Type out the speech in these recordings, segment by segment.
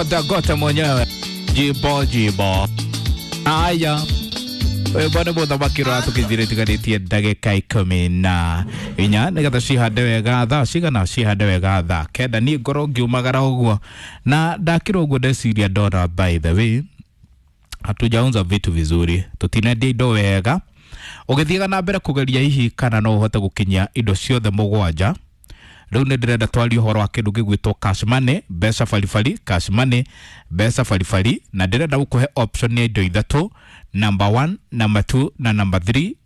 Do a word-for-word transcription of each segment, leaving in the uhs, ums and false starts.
Anaitwa Dangote mwenyewe. Jibo jibo. Aya. Wĩmbo nĩ mũthamaki rwa tũkĩthire tigarĩtie ndagĩka ikũmi na inya nĩgetha cihande wega thaa cigana cihande wega thaa kenda. Niĩ ngorwo ngiumagara ũguo na ndakĩra ũguo ndeciria ndona, by the way, hatujaunza vitu vizuri, tutinendia indo wega. Ũgĩthiaga na mbere kũgeria hihi kana no ũhote gũkinyia indo ciothe mũgwanja. Rĩu nĩ ndĩrenda twarie ũhoro wa kĩndũ gĩgwĩtwo cash money, mbeca baribari, cash money, mbeca baribari, na ndĩrenda gũkũhe option ya indo ithatũ: number one, number two na number three.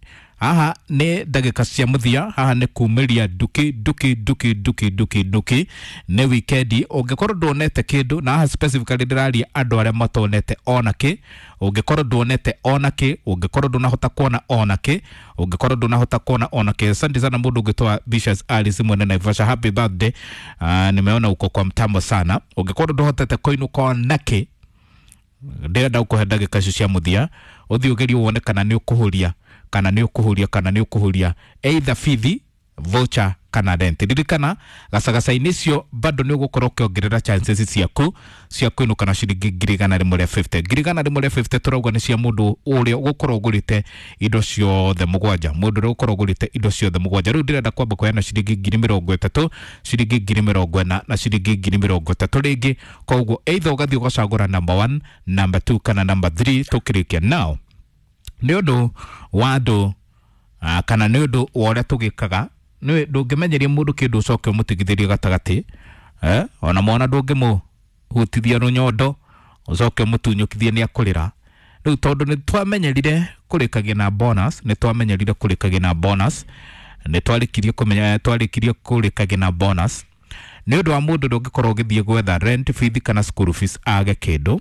Haha nĩ ndagĩka cia mũthia, haha nĩ kumĩria nduki nduki nduki nduki nduki nduki. Nĩ wikendi, ũngĩkorwo nduonete kĩndũ, na haha specifically ndĩraria andũ arĩa matonete ona kĩ. Ũngĩkorwo nduonete ona kĩ, ũngĩkorwo ndũnahota kuona ona kĩ, ũngĩkorwo ndũnahota kuona ona kĩ. Asante sana mũndũ ũngĩtwa Vicious Alice mwene Naivasha, happy birthday. Uh, nimeona uko kwa mtambo sana. Ũngĩkorwo ndũhotete kũinũka ona kĩ, ndĩrenda gũkũhe ndagĩka icio cia mũthia ũthiĩ ũgerie wone kana nĩ ũkũhũria, kana nĩ ũkũhũria, kana nĩ ũkũhũria either bithi, voucher kana rent. Ririkana gacagaca-inĩ icio bado nĩ ũgũkorwo ũkĩongerera chances ciaku cia kũinũka na ciringi ngiri igana rĩmwe rĩa mĩrongo ĩtano. Ngiri igana rĩmwe rĩa mĩrongo ĩtano tũrauga nĩ cia mũndũ ũrĩa ũgũkorwo ũgũrĩte indo ciothe mũgwanja, mũndũ ũrĩa ũgũkorwo ũgũrĩte indo ciothe mũgwanja. Rĩu ndĩrenda kwamba kũheana ciringi ngiri mĩrongo ĩtatũ, ciringi ngiri mĩrongo ĩna na ciringi ngiri mĩrongo ĩtatũ rĩngĩ. Koguo either ũgathiĩ ũgacagũra number one, number two kana number three. Tũkĩrĩkia now nĩ ũndũ wa andũ, ah, kana nĩ ũndũ wa ũrĩa tũgĩkaga, nĩ ndũngĩmenyeria mũndũ kĩndũ ũcoke ũmũtigithĩrie gatagatĩ, eh? Ona mwana ndũngĩmũhutithia rũnyondo ũcoke ũmũtunyũkithie, nĩ akũrĩra. Rĩu tondũ nĩ twamenyerire kũrĩkagia na bonus, nĩ twamenyerire kũrĩkagia na bonus, nĩ twarĩkirie kũmenya, twarĩkirie kũrĩkagia na bonus, nĩ ũndũ wa mũndũ ndũngĩkorwo ũgĩthiĩ gwetha rent, fees kana school fees age kĩndũ.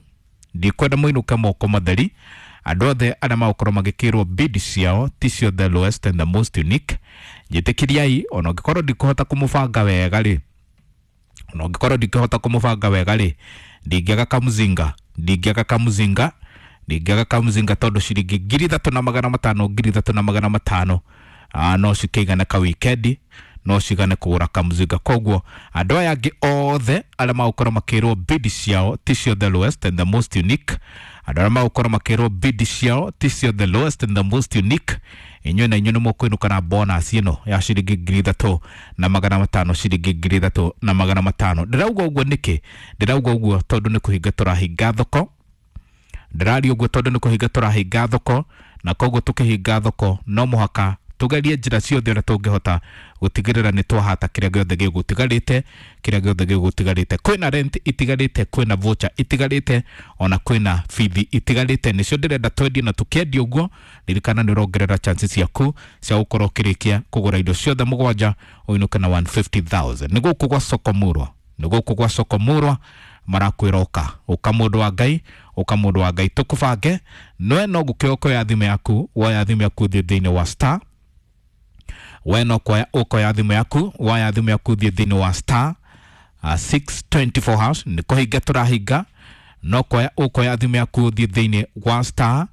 Ndikwenda mũinũke moko matheri. Andũ othe arĩa magũkorwo magĩkĩrwo bid ciao ti cio the lowest and the most unique, njĩtĩkĩriai, ona ũngĩkorwo ndikũhota kũmũbanga wega rĩ, ona ũngĩkorwo ndingĩhota kũmũbanga wega rĩ, ndingĩaga kamũzinga, ndingĩaga kamũzinga, ndingĩaga kamũzinga, tondũ ciringi ngiri ithatũ na magana matano, ngiri ithatũ na magana matano ah, no cikĩigane ka wikendi, no cigane kũgũra kamũzinga. Koguo andũ aya angĩ othe arĩa magũkorwo makĩrwo bid ciao ti cio the lowest and the most unique, andũ arĩa magũkorwo makĩrwo bid ciao ti cio the lowest and the most unique, inyuĩ na inyuĩ nĩ mũkũinũka na bonus ĩno ya ciringi ngiri ithatũ na magana matano, ciringi ngiri ithatũ na magana matano. Ndĩrauga ũguo nĩkĩ? Ndĩrauga ũguo tondũ nĩ kũhinga tũrahinga thoko. Ndĩraria ũguo tondũ nĩ kũhinga tũrahinga thoko, na koguo tũkĩhinga thoko no mũhaka tugerie njĩra ciothe ũrĩa tũngĩhota gũtigĩrĩra nĩ twahata kĩrĩa gĩothe gĩgũtigarĩte, kĩrĩa gĩothe gĩgũtigarĩte. Kwĩna rent itigarĩte, kwĩna voucher itigarĩte, ona kwĩna bithi itigarĩte, nĩcio ndĩrenda twendie. Na tũkĩendia ũguo, ririkana nĩ ũrongerera chances ciaku cia gũkorwo ũkĩrĩkia kũgũra indo ciothe mũgwanja ũinũke na igana rĩa mĩrongo ĩtano. Nĩ gũkũ gwa Soko Murwa, nĩ gũkũ gwa Soko Murwa marakwĩra ũka, ũka mũndũ wa Ngai, ũka mũndũ wa Ngai, tũkũbange noe. No gũkĩoya ũkoya thimũ yaku, woya thimũ yaku, thiĩ thĩinĩ wa star, we no kuoya ũkoya thimũ yaku, woya thimũ yaku, thiĩ thĩinĩ wa star uh, six two four hash. Nĩ kũhinga tũrahinga, no kuoya ũkoya thimũ yaku, thiĩ thĩinĩ wa star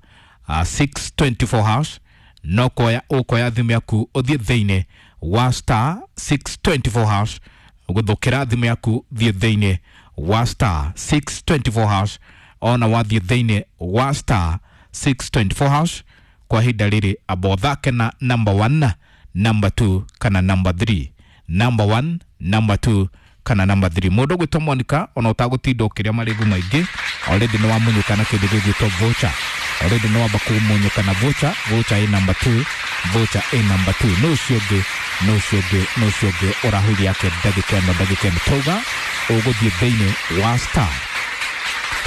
uh, six two four hash. No kuoya ũkoya thimũ yaku, ũthiĩ thĩinĩ wa star six two four hash. Gũthũkĩra thimũ yaku, thiĩ thĩinĩ wa star six two four hash. Ona wathiĩ thĩinĩ wa star six two four hash, kwa ihinda rĩrĩ amba ũthake na number one, number two kana number three, number one, number two kana number three. Mũndũ ũgwĩtwo Monica, ona ũtagũtinda ũkĩrĩa marĩgu maingĩ, already nĩ wamunyũka na kĩndũ gĩgwĩtwo voucher, already nĩ wamba kũmunyũka na voucher. Voucher ĩ number two, voucher ĩ number two. Nũ ũcio ũngĩ? Nũ ũcio ũngĩ? Nũ ũcio ũngĩ ũrahuria yake ndagĩka ĩno? Ndagĩka ĩno tauga ũgũthiĩ thĩinĩ wa star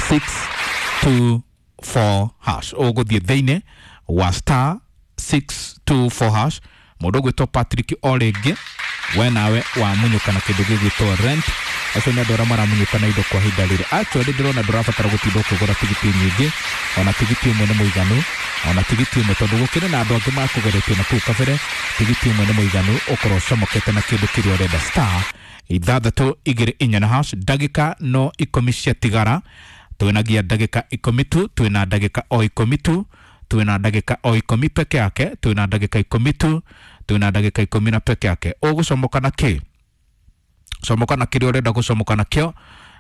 six two four hash, ũgũthiĩ thĩinĩ wa star six two four hash. Mũndũ ũgwĩtwo Patrick, o rĩngĩ we nawe wamunyũka na kĩndũ gĩgwĩtwo rent. Acio nĩ andũ arĩa maramunyũka na indo kwa ihinda rĩrĩ. Actually ndĩrona ndũrabatara gũtinda ũkĩgũra tigiti nyingĩ, ona tigiti ũmwe nĩ mũiganu, ona tigiti ũmwe, tondũ gũkĩrĩ na andũ angĩ makũgeretie na kũu kabere. Tigiti ũmwe nĩ mũiganu ũkorwo ũcomokete na kĩndũ kĩrĩa ũrenda. Star ithathatũ igĩrĩ inya na hash. Ndagĩka no ikũmi ciatigara, twĩnagia ndagĩka ikũmi tu, twĩna ndagĩka o ikũmi tu, twĩna ndagĩka o ikũmi peke yake, twĩna ndagĩka ikũmi tu, twĩna ndagĩka ikũmi na peke yake. Ũgũcomoka na kĩ? Comoka na kĩrĩa ũrenda gũcomoka nakĩo.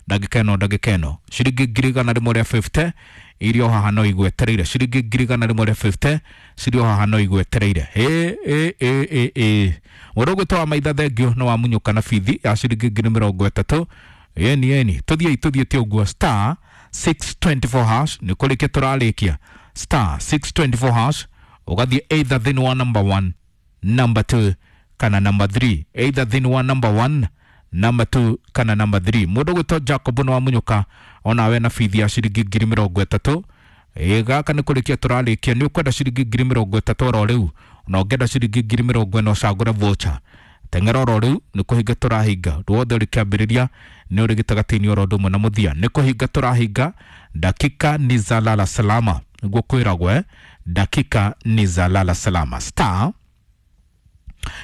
Ndagĩka ĩno, ndagĩka ĩno ciringi ngiri igana rĩmwe rĩa fifty irio haha no igwetereire. Ciringi ngiri igana rĩmwe rĩa fifty cirio haha no igwetereire. Ĩ ĩ ĩ ĩ ĩ mũndũ ũgwĩtwo wa maitha thengio no wamunyũka na bithi ya ciringi ngiri mĩrongo ĩtatũ. Yeni yeni tũthiĩ tũthiĩte ũguo star six twenty four hash nĩ kũrĩkia tũrarĩkia star six twenty four hash ũgathiĩ either thĩinĩ wa number one, number two kana number three. Either thĩinĩ wa number one, number two kana number three. Mũndũ ũgwĩtwo Jacob nĩ wamunyũka onawe na bithi ya ciringi ngiri mĩrongo ĩtatũ. Ĩ gaka nĩ kũrĩkia tũrarĩkia. Nĩ ũkwenda ciringi ngiri mĩrongo ĩtatũ oro rĩu, na ũngĩenda ciringi ngiri mĩrongo ĩna ũcagũre voucher. Teng'era oro rĩu nĩ kũhinga tũrahinga. Ũndũ wothe ũrĩ kĩambĩrĩria nĩ ũrĩ gĩtagatĩ-inĩ oro ũndũ ũmwe na mũthia. Nĩ kũhinga tũrahinga. Dakika ni za lala salama nĩguo kwĩragwo, eh? Dakika ni za lala salama. Star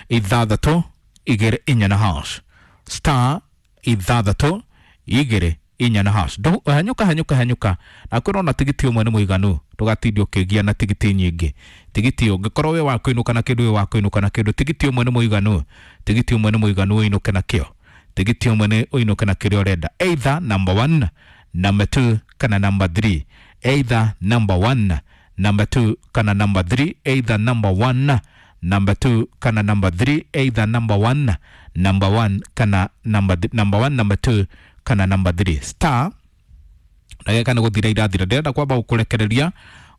ithathatũ igĩrĩ inya na hash, star ithathatũ igĩrĩ inya na hash. Hanyũka hanyũka hanyũka na kwĩrwo na tigiti ũmwe nĩ mũiganu, ndũgatinde ũkĩgia na tigiti nyingĩ. Tigiti ũngĩkorwo wĩ wa kũinũka na kĩndũ, wĩ wa kũinũka na kĩndũ, tigiti ũmwe nĩ mũiganu. Tigiti ũmwe nĩ mũiganu ũinũke na kĩo. Tigiti ũmwe nĩ ũinũke na kĩrĩa ũrenda, either number one, number two kana number three. Either number one, number two kana number three. Either number one, number two kana number three. Either number one, number one kana number th number one, number two kana number three. Star ndagĩka nĩ gũthira irathira. Ndĩrenda kwamba gũkũrekereria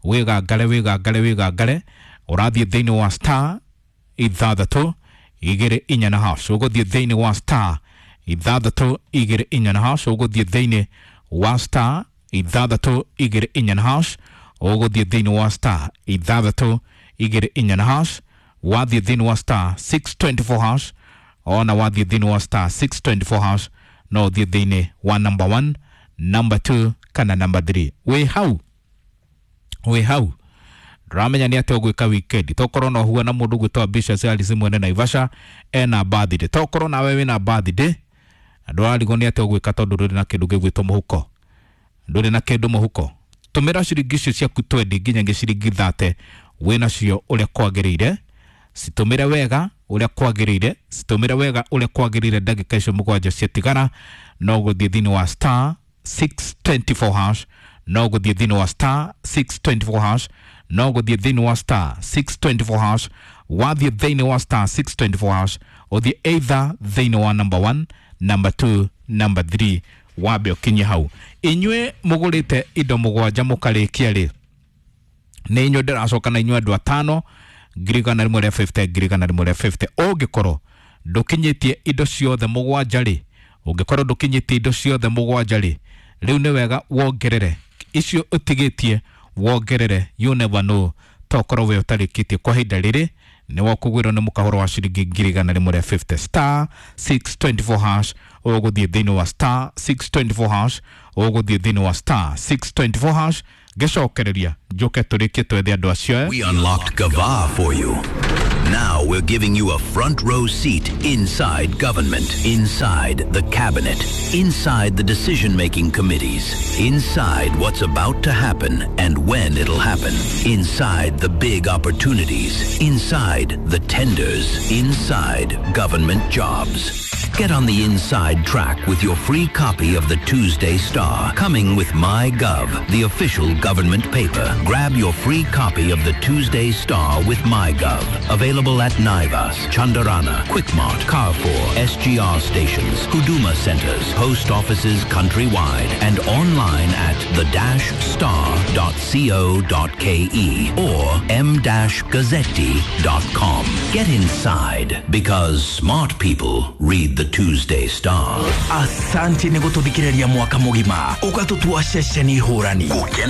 wĩgangare wĩgangare wĩgangare. Ũrathiĩ thĩinĩ wa star ithathatũ igĩrĩ inya na hash. Ũgũthiĩ thĩinĩ wa star ithathatũ igĩrĩ inya na hash. Ũgũthiĩ thĩinĩ wa star ithathatũ igĩrĩ inya na hash. Ũgũthiĩ thĩinĩ wa star ithathatũ igĩrĩ inya na hash. Wathiĩ thĩinĩ wa star six twenty four hash, ona wathiĩ thĩinĩ wa star six twenty four hash no ũthiĩ thĩinĩ wa number one, number two kana number three. Wĩ hau, wĩ hau ndũramenya nĩ atĩa ũgwĩka weekend. Tokorwo no ũhue na mũndũ ũgwĩtwo Ambitious Alice mwene Naivasha ena birthday. Tokorwo nawe wĩna birthday na ndũrarigwo nĩ atĩa ũgwĩka tondũ ndũrĩ na kĩndũ gĩgwĩtwo mũhuko, ndũrĩ na kĩndũ mũhuko. Tũmĩra ciringi icio ciaku twendi nginya ciringi thate wĩnacio ũrĩa kwagĩrĩire. Citũmĩre wega ũrĩa kwagĩrĩire, citũmĩre wega ũrĩa kwagĩrĩire. Ndagĩka icio mũgwanja ciatigara no gũthiĩ thĩinĩ wa star six twenty four hash, no gũthiĩ thĩinĩ wa star six twenty four hash, no gũthiĩ thĩinĩ wa star six twenty four hash. Wathiĩ thĩinĩ wa star six twenty four hash ũthiĩ either thĩinĩ wa number one, number two, number three, wambe ũkinye hau. Inyuĩ mũgũrĩte indo mũgwanja mũkarĩkia rĩ, nĩ inyuĩ ndĩracoka na inyuĩ andũ atano ngiri igana rĩmwe rĩa fifty, ngiri igana rĩmwe rĩa fifty. Ũngĩkorwo ndũkinyĩtie indo ciothe mũgwanja rĩ, ũngĩkorwo ndũkinyĩtie indo ciothe mũgwanja rĩ, rĩu nĩ wega wongerere icio ũtigĩtie, wongerere. You never know, tokorwo we ũtarĩkĩtie kwa ihinda rĩrĩ nĩ wakũgwĩrwo nĩ mũkahoro wa ciringi ngiri igana rĩmwe rĩa fifty. Star six twenty four hash ũgũthiĩ thĩinĩ wa star six twenty four hash, ũgũthiĩ thĩinĩ wa star six twenty four hash. Ngĩcokereria njoke tũrĩkie twethe andũ acio. We unlocked Gava for you. Now we're giving you a front row seat inside government, inside the cabinet, inside the decision-making committees, inside what's about to happen and when it'll happen, inside the big opportunities, inside the tenders, inside government jobs. Get on the inside track with your free copy of the Tuesday Star, coming with MyGov, the official government paper. Grab your free copy of the Tuesday Star with MyGov. Available at Naivas, Chandarana, Quickmart, Carrefour, S G R stations, Huduma centers, post offices countrywide, and online at the dash star dot co dot K E or m dash gazzetti dot com. Get inside, because smart people read the Tuesday Star. Asante nĩ gũtũthikĩrĩria mwaka mũgima ũgatũtua ceceni hũrani.